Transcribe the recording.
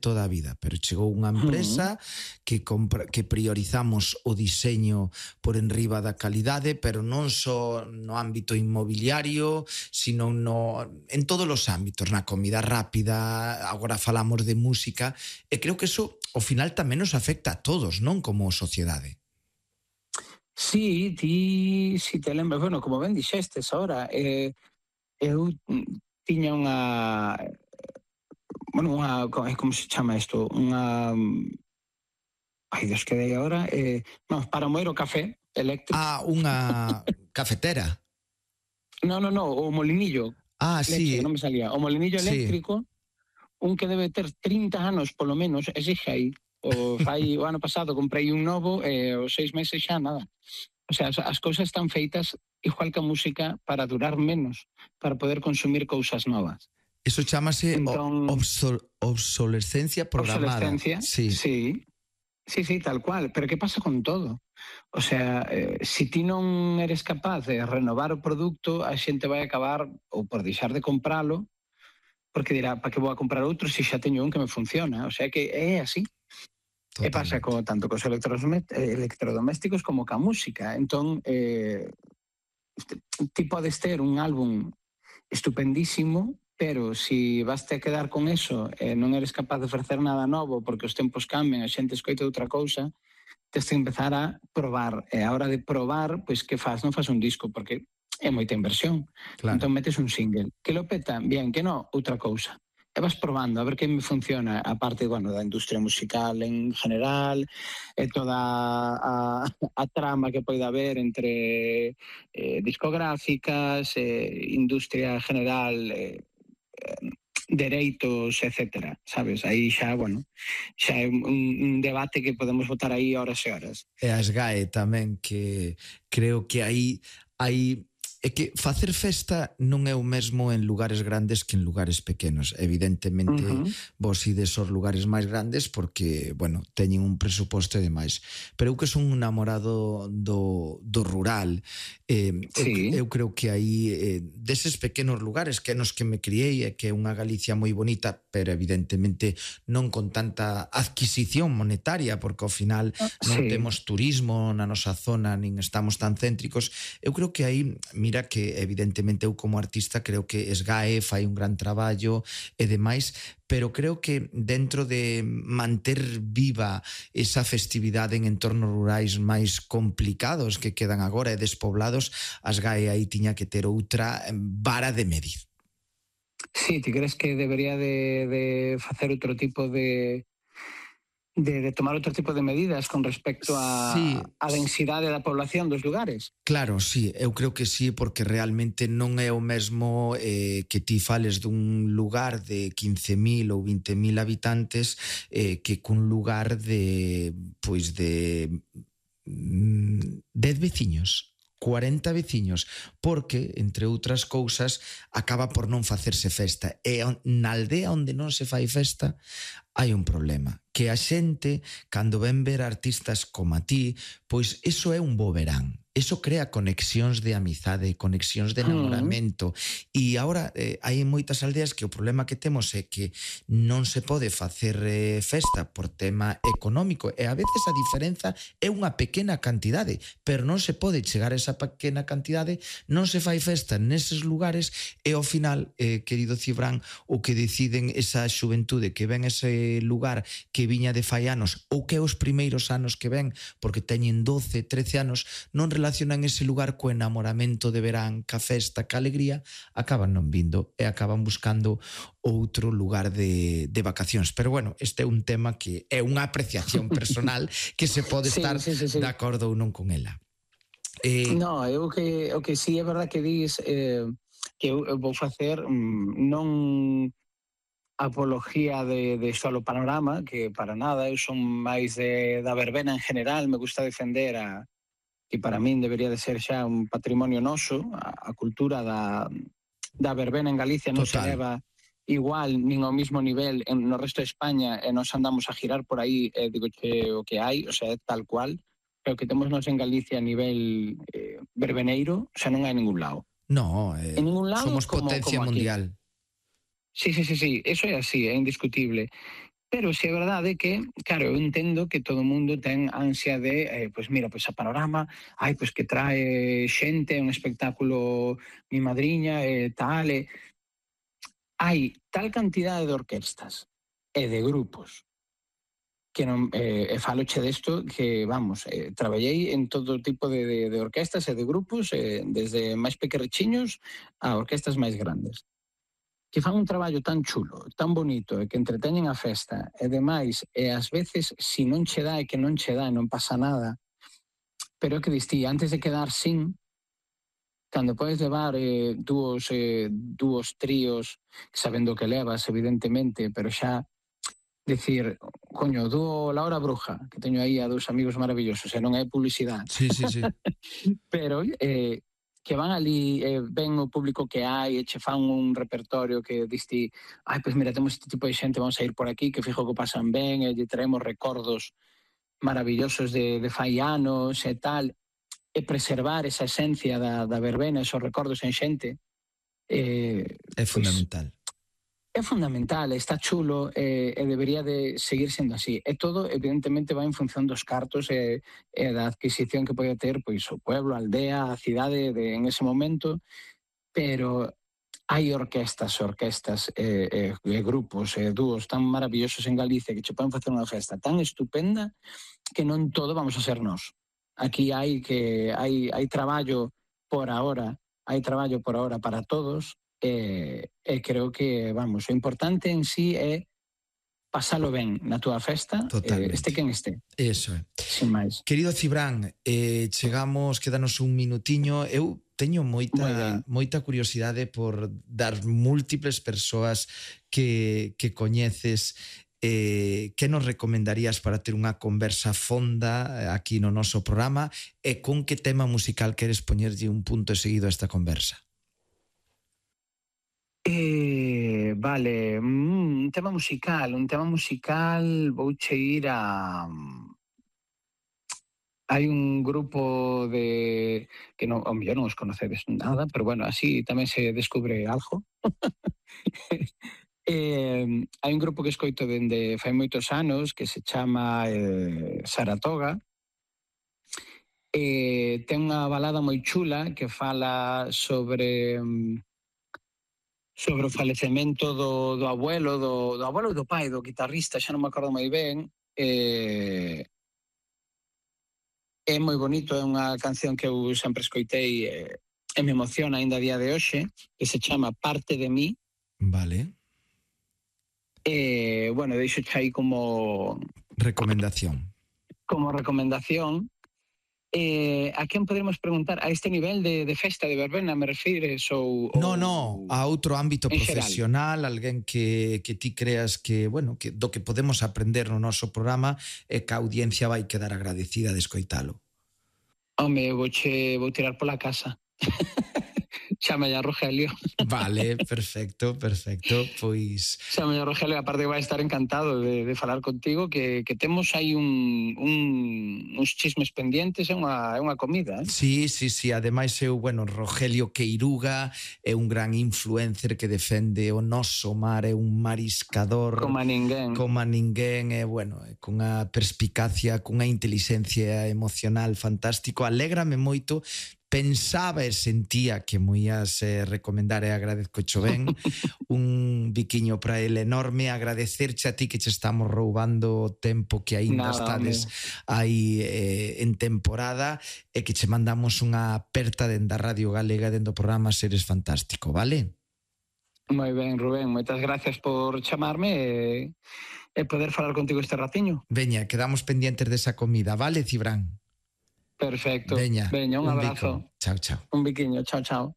toda a vida, pero chegou unha empresa que priorizamos o diseño por enriba da calidade, pero non só no ámbito inmobiliario, sino en todos os ámbitos, na comida rápida, agora falamos de música, e creo que eso ao final tamén nos afecta a todos, non, como sociedade. Sí, ti, si te lembras, bueno, como ben dixestes ahora, eu tiña unha, como se chama isto? Ai, Dios, que dei agora, para moer o café eléctrico. Unha cafetera. No, o molinillo. Sí. Non me salía. O molinillo eléctrico, un que debe ter 30 anos, polo menos, ese xa aí. O ano pasado comprei un novo e os 6 meses xa nada. O sea, as cousas están feitas igual que a música para durar menos, para poder consumir cousas novas. Eso chamase obsolescencia programada. Obsolescencia, sí, tal cual. Pero que pasa con todo? O sea, se ti non eres capaz de renovar o produto, a xente vai acabar ou por deixar de compralo, porque dirá, para que vou a comprar outro se xa teño un que me funciona? O sea, que é así. E pasa tanto cos electrodomésticos como ca música. Entón, ti podes ter un álbum estupendísimo, pero se vas a quedar con eso e non eres capaz de ofrecer nada novo porque os tempos cambian, a xente escoita outra cousa, tens que empezar a probar. E a hora de probar, pois que faz? Non faz un disco, porque é moita inversión. Claro. Entón metes un single. Que lo peta? Bien, que non, outra cousa. E vas probando a ver que me funciona, a parte, bueno, da industria musical en general, e toda a trama que pode haber entre discográficas, industria general, dereitos, etcétera, sabes? Aí xa, bueno, xa é un debate que podemos botar aí horas e horas. E a SGAE tamén, que creo que aí é que facer festa non é o mesmo en lugares grandes que en lugares pequenos. Evidentemente, vos ides aos lugares máis grandes porque, bueno, teñen un presuposto e demais. Pero eu que son un namorado do rural, eu creo que aí, deses pequenos lugares que é nos que me criei, e que é unha Galicia moi bonita, pero evidentemente non con tanta adquisición monetaria, porque ao final non temos turismo na nosa zona, nin estamos tan céntricos. Eu creo que aí, mira que evidentemente eu como artista creo que SGAE fai un gran traballo e demais, pero creo que dentro de manter viva esa festividade en entornos rurais máis complicados que quedan agora e despoblados, a SGAE aí tiña que ter outra vara de medir. Sí, ti crees que debería de facer outro tipo de tomar outro tipo de medidas con respecto a densidade da población dos lugares? Claro, sí, eu creo que sí, porque realmente non é o mesmo que ti fales dun lugar de 15.000 ou 20.000 habitantes que cun lugar de 10 veciños, 40 veciños, porque, entre outras cousas, acaba por non facerse festa. E na aldea onde non se fai festa hai un problema, que a xente, cando ven ver artistas como a ti, pois iso é un bo verán. Eso crea conexións de amizade, conexións de enamoramento. E agora hai moitas aldeas que o problema que temos é que non se pode facer festa por tema económico, e a veces a diferenza é unha pequena cantidade, pero non se pode chegar a esa pequena cantidade, non se fai festa neses lugares, e ao final, querido Cibrán, o que deciden esa xuventude que ven ese lugar que viña de fai anos, ou que é os primeiros anos que ven, porque teñen 12, 13 anos, non relacionan ese lugar co enamoramento de verán, ca festa, ca alegría, acaban non vindo e acaban buscando outro lugar de vacacións. Pero bueno, este é un tema que é unha apreciación personal que se pode estar de acordo ou non con ela. No, o que sí é verdad que dis que eu vou facer non apología de solo panorama, que para nada, eu son máis da verbena en general, me gusta defender que para min debería de ser xa un patrimonio noso, a cultura da verbena en Galicia non se leva igual nin ao mismo nivel no resto de España, e nos andamos a girar por aí, digo que o que hai, o sea, tal cual, pero que temos nos en Galicia a nivel verbeneiro, xa non hai ningún lado. No, somos potencia mundial. Sí, eso é así, é indiscutible. Pero si é verdade que, claro, eu entendo que todo o mundo ten ansia de, pois mira, pois a Panorama, pois que trae xente, un espectáculo mi madriña, tal, hai tal cantidade de orquestas e de grupos que non, faloche desto que, vamos, traballei en todo tipo de orquestas e de grupos, desde máis pequerrechiños a orquestas máis grandes, que fan un traballo tan chulo, tan bonito, e que entreteñen a festa, e demais, e ás veces, si non che dá, e que non che dá, non pasa nada, pero é que distí, antes de quedar sin, cando podes levar dúos tríos, sabendo que levas, evidentemente, pero xa, decir, coño, dúo La Hora Bruja, que teño aí a dous amigos maravillosos, e non é publicidade. Sí, sí, sí. Pero, que van ali, ven o público que hai, e che fan un repertorio que diste, pois mira, temos este tipo de xente, vamos a ir por aquí, que fijo que pasan ben, e lle traemos recordos maravillosos de fai anos e tal, e preservar esa esencia da verbena, esos recordos en xente, é fundamental. É fundamental, está chulo, e debería de seguir sendo así. E todo, evidentemente, vai en función dos cartos e da adquisición que pode ter pois o pueblo, a aldea, a cidade en ese momento, pero hai orquestas e grupos e dúos tan maravillosos en Galicia que che poden facer unha festa tan estupenda que non todo vamos a ser nós. Aquí hai traballo por ahora, para todos, e creo que, vamos, o importante en sí é pasalo ben na túa festa, este quen este. Eso é. Sin máis. Querido Cibrán, quédanos un minutiño. Eu teño moita curiosidade por das múltiples persoas que coñeces. Que nos recomendarías para ter unha conversa fonda aquí no noso programa, e con que tema musical queres poñerlle un punto seguido a esta conversa? Vale, un tema musical, vouche ir a... Hai un grupo que non, ao mellor non os conocedes nada, pero bueno, así tamén se descubre algo. Hai un grupo que escoito dende fai moitos anos que se chama Saratoga. Ten unha balada moi chula que fala sobre o falecemento do abuelo, do abuelo e do pai, do guitarrista, xa non me acordo moi ben. É moi bonito, é unha canción que eu sempre escoitei e me emociona aínda a día de hoxe, que se chama Parte de mí. Vale. Bueno, deixo aí como recomendación. A quen podemos preguntar a este nivel de festa de verbena, me refires? No, a outro ámbito profesional, alguén que ti creas que, bueno, que do que podemos aprender no noso programa e que a audiencia vai quedar agradecida de escoitalo. Home, vou tirar pola casa. Chámalla a Rogelio. Vale, perfecto. Pois chámalla a Rogelio, aparte vai estar encantado de falar contigo, que temos aí uns chismes pendientes, é unha comida, Sí, ademais bueno, Rogelio Queiruga é un gran influencer que defende o noso mar, é un mariscador como a ninguén, bueno, con a perspicacia, con a inteligencia emocional fantástico. Alégrame moito. Pensaba e sentía que mo ías recomendar, e agradezco cho ben. Un biquiño para ele enorme. Agradecerche a ti que che estamos roubando o tempo que aínda estades aí en temporada, e que che mandamos unha aperta dende a Radio Galega, dende o programa Seres Fantástico, vale? Moi ben, Rubén, moitas gracias por chamarme e poder falar contigo este ratiño. Veña, quedamos pendientes desa comida, vale, Cibrán? Perfecto. Veña, un abrazo. Chao. Un biquiño, chao.